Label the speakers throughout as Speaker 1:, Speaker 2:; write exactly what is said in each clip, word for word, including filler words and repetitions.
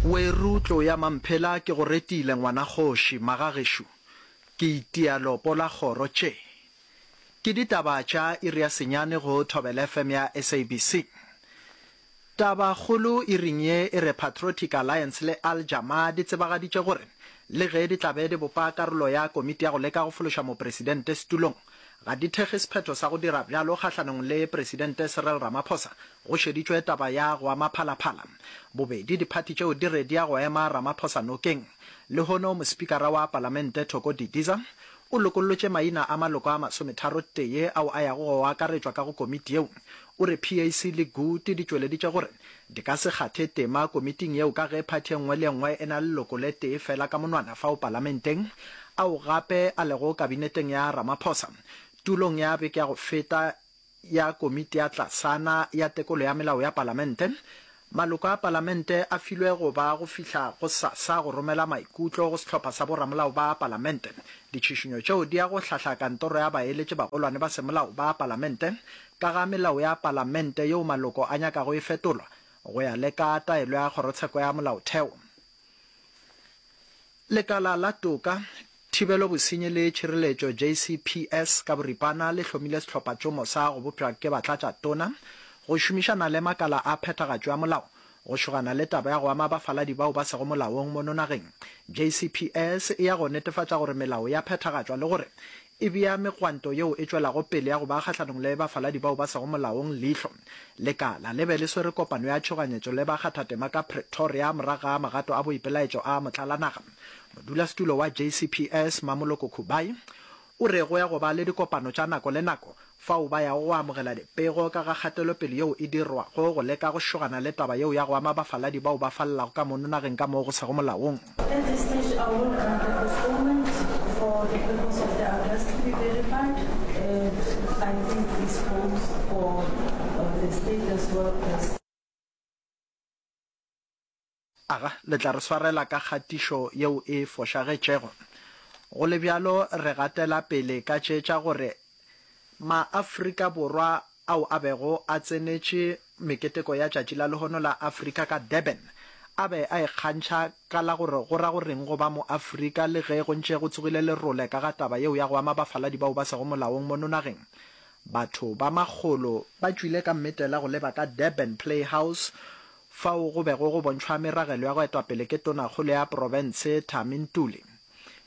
Speaker 1: Weru tlo ya Mamphela ke go retile ngwana kgoši, magagešo ke itia lopo la kgoro tše. Ke ditaba tša iri ya senyane go Thobela F M ya S A B C. Taba kgolo iring ye e re Patriotic Alliance le Al Jama di tsebagaditše gore le ge di tla be di bopa karolo ya komiti ya go leka go fološa mopresidente setulong, ga di thekge sephetho sa go dira bjalo kgahlanong le Presidente Cyril Ramaphosa go šeditšwe taba ya go ama Phalaphala. Bobedi diphathi tšeo di re di ya go ema Ramaphosa nokeng. Lehono Mospikara wa Palamente Thoko Didiza o lokollotše maina a maloko a masometharo-tee ao a yago go akaretšwa ka go komiti yeo. O re P A C le G U T di tšweleditše gore di ka se kgathe tema komiting yeo ka ge phathi e nngwe le e nngwe e na le leloko le tee fela ka monwana fao palamenteng, ao gape a lego kabineteng ya Ramaphosa. Tulong ya beke ya go feta ya komiti ya tlasana ya tekolo ya melao ya palamente, maloko a palamente a filwe go ba go fihla gosasa go romela maikutlo go sehlopha sa boramolao ba palamente. Ditšhišinyo tšeo di ya go hlahla kantoro ya baeletši bagolwane ba semolao ba palamente ka ga melao ya palamente yeo maloko a nyakago e fetolwa go ya le ka taelo ya kgorotsheko ya molaotheo. Lekala la toka, thibelo bosenyi le tšhireletšo J C P S ka boripana le hlomile sehlophatšomo sa go bopša ke batlatšatona go šomišana le makala a phethagatšo ya molao go šogana le taba ya go ama bafaladi bao ba sego molaong mono nageng. J C P S e ya go netefatša gore melao ya phethagatšwa le gore e bea megwanto yeo e tšwelago pele ya go ba kgahlanong le bafaladi bao ba sego molaong leihlo. Lekala le be le swere kopano ya tšhoganyetšo le bakgathatema ka Pretoria morago ga magato a boipelaetšo a motlalanaga. Modulasetulo wa J C P S Mamoloko Kubayi o re go ya go ba le dikopano tša nako le nako fao ba yago go amogela dipego ka ga kgatelopele yeo e dirwago go leka go šogana le taba yeo ya go ama bafaladi bao ba falelago ka mono nageng ka moo go sego molaong.
Speaker 2: At this stage, I will grant the postponement for the purpose of the address to be verified, and I think this holds for, uh, the state as well as.
Speaker 1: Aga, le tla re swarela ka kgatišo yeo e fošagetšego. Go le bjalo, re gatela pele ka tše tša gore Maafrika Borwa ao a bego a tsenetše meketeko ya tšatši la lehono la Afrika ka Durban a be a ikgantšha ka la gore go ra go reng go ba Moafrika le ge go ntše go tsogile lerole ka ga taba yeo ya go ama bafaladi bao ba sego molaong mono nageng. Batho ba makgolo ba tšwile ka mmetela go leba ka Durban Playhouse fao go bego go bontšhwa meragelo ya go etwa pele ke tonakgolo ya profense Thami Ntuli.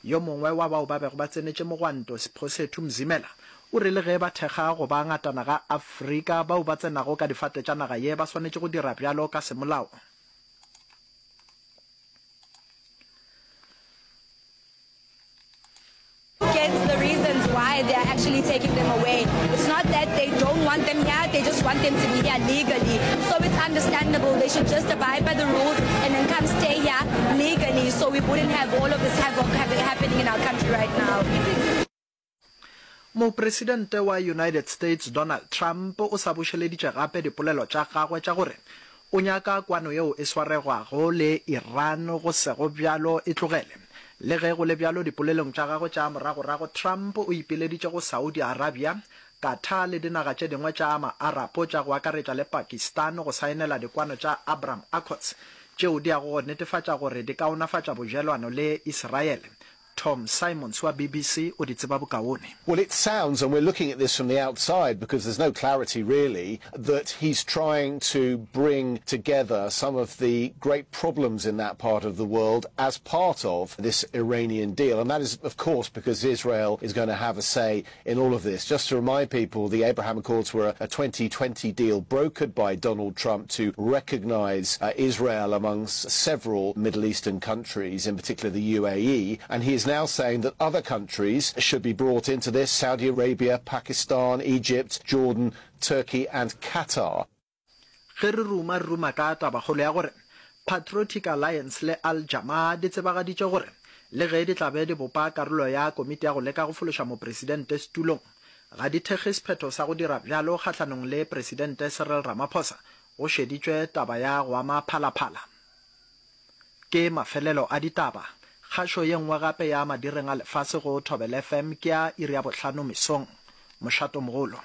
Speaker 1: Yo mongwe wa bao ba bego ba tsenetše mogwanto, Siphosethu Mzimela, o re le ge ba thekga go ba ngatana ga Afrika, bao ba tsenago ka difate tša naga ye ba swanetše go dira bjalo ka semolao.
Speaker 3: Get the reasons why they are actually taking them away. It's not that they don't want them here, they just want them to be here legally. So it's understandable, they should just abide by the rules and then come stay here legally, so we wouldn't have all of this havoc happening in our country right now.
Speaker 1: Mopresidente wa United States Donald Trump o sa bušeleditše gape dipolelo tša gagwe tša gore o nyaka kwano yeo e swaregwago le Iran go sego bjalo e tlogele. Le ge go le bjalo, dipolelong tša gagwe tša moragorago Trump o ipileditše go Saudi Arabia, Qatar le dinaga tše dingwe tša ma-Arapo tša go akaretša le Pakistan go saenela dikwano tša Abraham Accords tšeo di yago go netefatša gore di kaonafatša bojelwano le Israele. Tom Simons wa B B C o di tseba bokaone.
Speaker 4: Well, it sounds, and we're looking at this from the outside because there's no clarity really, that he's trying to bring together some of the great problems in that part of the world as part of this Iranian deal. And that is, of course, because Israel is gonna have a say in all of this. Just to remind people, the Abraham Accords were a, a twenty twenty deal brokered by Donald Trump to recognize, uh, Israel amongst several Middle Eastern countries, in particular the U A E, and he is now saying that other countries should be brought into this: Saudi Arabia, Pakistan, Egypt, Jordan, Turkey and Qatar.
Speaker 1: Ge re ruma, re ruma ka tabakgolo ya gore Patriotic Alliance le Al Jama di tsebagaditše gore le ge di tla be di bopa karolo ya komiti ya go leka go fološa mopresidente setulong, ga di thekge sephetho sa go dira bjalo kgahlanong le Presidente Cyril Ramaphosa go šeditšwe taba ya go ama Phalaphala. Ke mafelelo a ditaba. Kgašo ye nngwe gape ya madireng a lefase go Thobela F M ke ya iri ya bohlano mesong. Mošatomogolo.